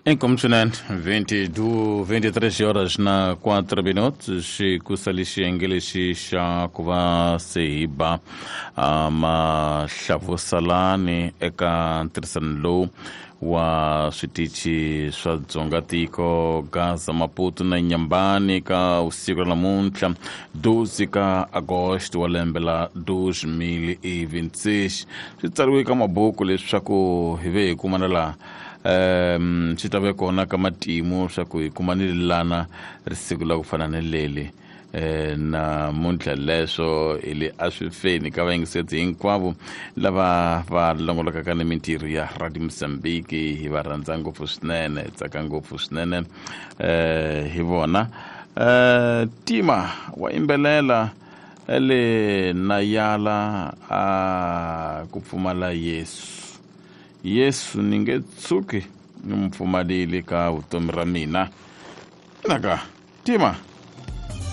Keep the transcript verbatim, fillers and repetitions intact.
Inkomu swinene vinte e dois, vinte e três horas na quatro minutos, kusali xiyenge lexi xa ku va se hi ba mahlavusalani eka ntirhisano lowu wa switichi swa Dzonga tiko, Gaza, Maputo na Nyambani, ka usiku ra namuntlha doze ka Agosto wa lembe la dois mil e vinte e seis. Swi tsariwe ka mabuku leswaku hi ve hi kumana laha, um swi ta ve kona ka matimu swa ku hi kumanile lana risiku la ku fana ni leli eh namuntlha. Leswo hi le a swi feni ka vayingiseti hinkwavo lava va longolokaka ni mintirho ya Radio Mozambique. Hi va rhandza ngopfu swinene, hi tsaka ngopfu swinene eh hi vona. eh tima wa yimbelela ele na yala a ku pfumala Yesu. Yesu ni nge tshuki ni mu pfumalile ka vutomi ra mina. Naka tima.